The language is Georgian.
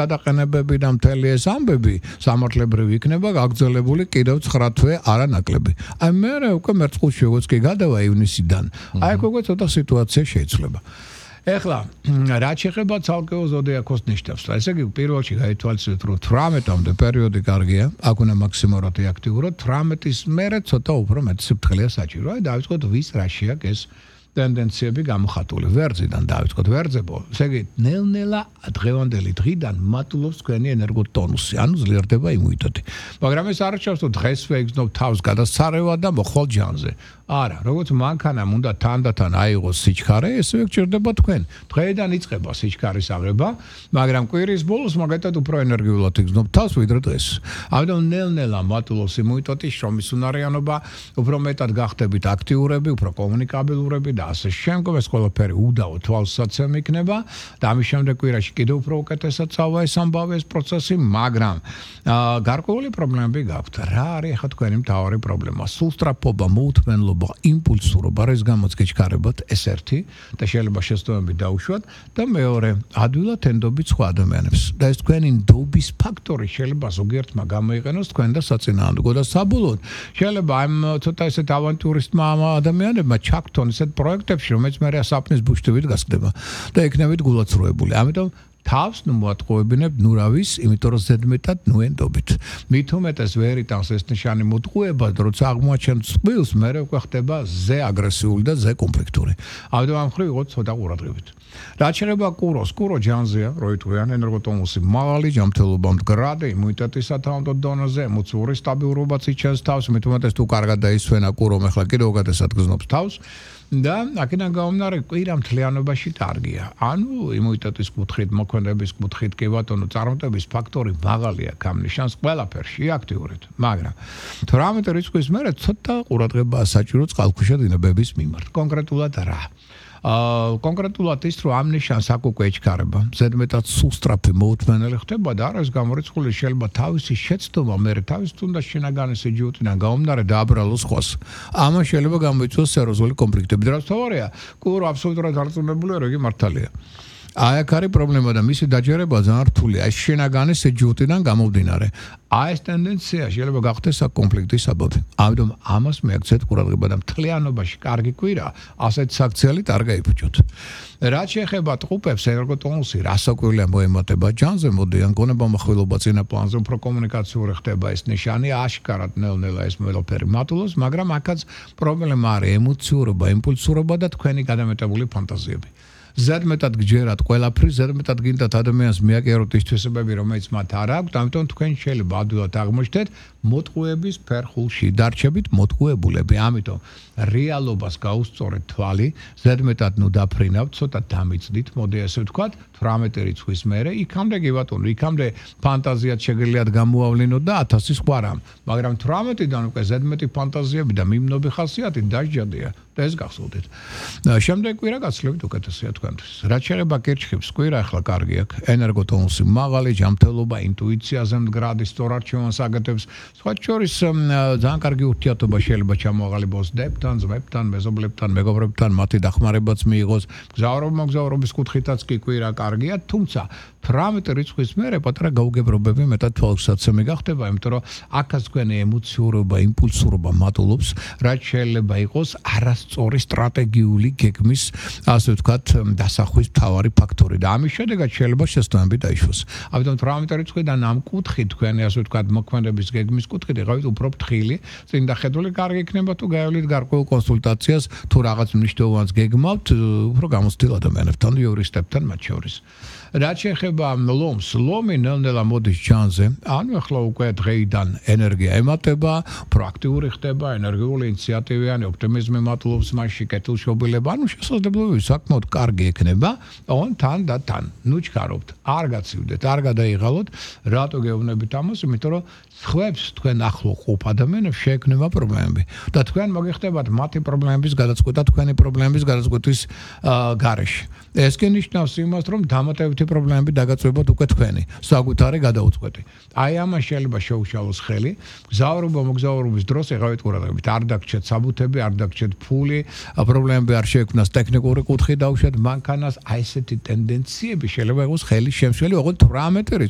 გადაყენებები და მთელი ეს ამბები სამართლებრივი იქნება გაგრძელებული კიდევ 9 თვე არანაკლები. აი მე უკვე მერწყულში როგორც კი გადავა ივნისიდან. აი უკვე ცოტა სიტუაცია შეიცვლება. ეხლა რაც შეეხება ცალკეულ ზოდიაქოს ნიშნებს. ესე იგი პირველში გაითვალისწინეთ რომ 18-მდე პერიოდი კარგია, აქ უნდა მაქსიმალურად აქტიუროთ. 18-ის მერე ცოტა უფრო მეტი სიფრთხილეა საჭირო. აი დავიწყოთ ვის რაში აქვს ეს ტენდენციები გამოხატული. ვერძიდან დავიწყოთ ვერძებო. ესე იგი ნელ-ნელა დღევანდელი დღიდან მატულობს თქვენი ენერგოტონუსი, ანუ ძლიერდება იმუნიტეტი. მაგრამ ეს არ ნიშნავს რომ დღესვე იგრძნობ თავს გადასცარევა და მოხვალ ჯანზე. არა, როგორც მანქანამ უნდა თანდათან აიღოს სიჩქარე, ესე გჭირდება თქვენ. დღეიდან იწყება სიჩქარის აღება, მაგრამ კვირის ბოლოს მაგათად უფრო ენერგიულად იგრძნობ თავს ვიდრე დღეს. ამიტომ ნელ-ნელა მატულობს იმუნიტეტი, შრომის უნარიანობა, უფრო მეტად გახდებით აქტიურები, უფრო კომუნიკაბილურები და ასე შემდგომ ეს ყველაფერი უდავო თვალსაცემი იქნება და ამის შემდეგ კვირაში კიდევ უფრო უკეთესად წავა ეს ამბავი ეს პროცესი, მაგრამ გარკვეული პრობლემები გაქვთ. რა არის ახლა თქვენი მთავარი პრობლემა? სულსწრაფობა, მოუთმენლობა, იმპულსურობა, რის გამოც გეჩქარებათ, ეს ერთი და შეიძლება შეცდომები დაუშვათ და მეორე, ადვილად ენდობით სხვა ადამიანებს. და ეს თქვენი ნდობის ფაქტორი შეიძლება ზოგიერთმა გამოიყენოს თქვენ და საწინააღმდეგო და საბოლოოდ შეიძლება ამ ცოტა ესეთ ავანტურისტმა ადამიანებმა ჩაგთონ ესეთ პროექტებში, რომელიც მე საფნის ბუშტივით გასკდება და იქნებით გულაცრუებული. ამიტომ თავს მოატყუებინებ ნურავის, იმიტომ რომ ზედმეტად ნუენდობით. მით უმეტეს ვერ იტანს ეს ნიშანი მოტყუება, როცა აღმოაჩენთ წყვილს, მერე უკვე ხდება ზე აგრესიული და ზე კონფლიქტური. ამიტომ ამ მხრივ იყოთ ცოტა ყურადღებით. რაც შეეხება კუროს, კურო ჯანზეა, როიტყვიან ენერგოტონუსი მაღალი, ჯანმრთელობა მდგრადი, იმუნიტეტი სათანადო დონეზე, ემოციური სტაბილურობაც იჩენს თავს, მით უმეტეს თუ კარგად დაისვენა კურომ, ახლა კიდევ უკეთესად გზნობს თავს. და აქედან გამომდინარე კვირა მთლიანობაში კარგია. ანუ იმუნიტეტის კუთხით, მოქმედების კუთხით კი ბატონო წარმატების ფაქტორი მაღალია, გამნიშანს ყველაფერში აქტიურით. მაგრამ 18 რიცხვის მერე ცოტა ყურადღებაა საჭირო წყალქვეშა დინებების მიმართ. კონკრეტულად რა? კონკრეტულად ის რომ ამ ნიშანს აქ უკვე ეჩქარება. ზედმეტად სუსტრაფი მოუთმენელი ხდება და არის გამორიცხული შეიძლება თავისი შეცდომა მერე თავის თუნდაც შინაგანი სიჯუტიდან გამომდინარე დააბრალოს ხოს. ამან შეიძლება გამოიწვიოს სერიოზული კონფლიქტები. რაც თავარია, კურო აბსოლუტურად არწმუნებულია რომ იგი მართალია. აი აქ არის პრობლემა და მისი დაჯერება ძალიან რთულია. ეს შინაგანი სიჯუტიდან გამომდინარე. აი ეს ტენდენცია შეიძლება გახდეს აქ კონფლიქტის საბაბი. ამიტომ ამას მიაქცეთ ყურადღება და მთლიანობაში კარგი კვირა, ასეთ საქციელით არ გაიფუჭოთ. რაც შეეხება ტყუპებს, ენერგოტონუსი რასაკვირველია მოემატება ჯანზე, მოდიან გონება מחვილობა წინა პლანზე, უფრო კომუნიკაციური ხდება ეს ნიშანი, აშკარად ნელ-ნელა ეს ყველაფერი მატულობს, მაგრამ აქაც პრობლემა არის ემოციურობა, იმპულსურობა და თქვენი გადამეტებული ფანტაზიები. ზედმეტად გჯერათ ყველაფრის, ზედმეტად გინდათ ადამიანს მიაკეროთ ის თვისებები, რომელიც მათ არ აქვს, ამიტომ თქვენ შეიძლება ადვილად აღმოჩნდეთ მოტყუების ფერხულში, დარჩებით მოტყუებულები. ამიტომ რეალობას გაუსწორეთ თვალი, ზედმეტად დაფრინავთ, ცოტა დამიცდით, მოდი ასე ვთქვათ, 18 რიცხვის მერე, იქამდე კი ბატონო, იქამდე ფანტაზიად შეგიძლიათ გამოავლინოთ და 1000 სხვა რამ. მაგრამ 18-დან უკვე ზედმეტი ფანტაზიები და მიმნობი ხასიათი დაჟჯადია. და ეს გახსოვდეთ. შემდეგ კვირა გაცლებით უკეთესია თქვენთვის. რაც შეეხება კირჩხიბს, კვირა ახლა კარგი აქვს. ენერგოტონუსი მაღალი, ჯანმრთელობა, ინტუიციაზე მდგრადი, სწორარჩევანს აკეთებს. სხვა შორის ძალიან კარგი ურთიერთობა შეიძლება ჩამოაყალიბოს დებთან, ძმებთან, მეზობლებთან, მეგობრებთან, მათი დახმარებაც მიიღოს. მოგზაურობის კუთხითაც კი კვირა კარგია, თუმცა 18 რიცხვის მერე პატარა გაუგებრობები მეტად თვალსაცემი გახდება, იმიტომ რომ აქაც თქვენი ემოციურობა, იმპულსურობა მატულობს, რაც შეიძლება იყოს არასწორი სტრატეგიული გეგმის, ასე ვთქვათ, დასახვის მთავარი ფაქტორი და ამის შედეგად შეიძლება შეცდომები დაიშვას. ამიტომ 18 რიცხვიდან ამ კუთხით თქვენი, ასე ვთქვათ, მოქმედების გეგმის კუთხით იყავით უფრო ფრთხილი, წინ დახედული კარგი იქნება თუ გაივლით გარკვეულ კონსულტაციას, თუ რაღაც მნიშვნელოვანს გეგმავთ, უფრო გამოცდილ ადამიანებთან, იურისტებთან მათ შორის. რაც შეეხება ლომს, ლომი ნელ-ნელა მოდის ჯანზე, ანუ ახლა უკვე დღეიდან ენერგია ემატება, პროაქტიული ხდება, ენერგიული ინიციატივიანი, ოპტიმიზმი მატულობს მასში, კეთილშობილება, ანუ შესაძლებლობები საკმაოდ კარგი ექნება, თან და თან. ჩქარობთ, არ გაცივდეთ, არ გადაიღალოთ, რატო გეუბნებით ამას, იმიტომ რომ სხვებს თქვენ ახლო ყოფ ადამიანებს შეექმნება პრობლემები და თქვენ მოგიხდებათ მათი პრობლემების გადაწყვეტა თქვენი პრობლემების გადაწყვეტის გარეშე. ეს კი ნიშნავს იმას, რომ დამატებითი პრობლემები დაგაწვევებთ უკვე თქვენი, საკუთარი გადაუწყვეტი. აი ამას შეიძლება შეუშალოს ხელი, მოგზაურობის დროს იღავით ყურადღებით, არ დაგჭერთ საბუთები, არ დაგჭერთ ფული, პრობლემები არ შეექმნას ტექნიკური კუთხე დავუშვათ, მანქანას აი ესეთი ტენდენციები შეიძლება იყოს ხელის შემშელი, ოღონდ 18 რიცხვი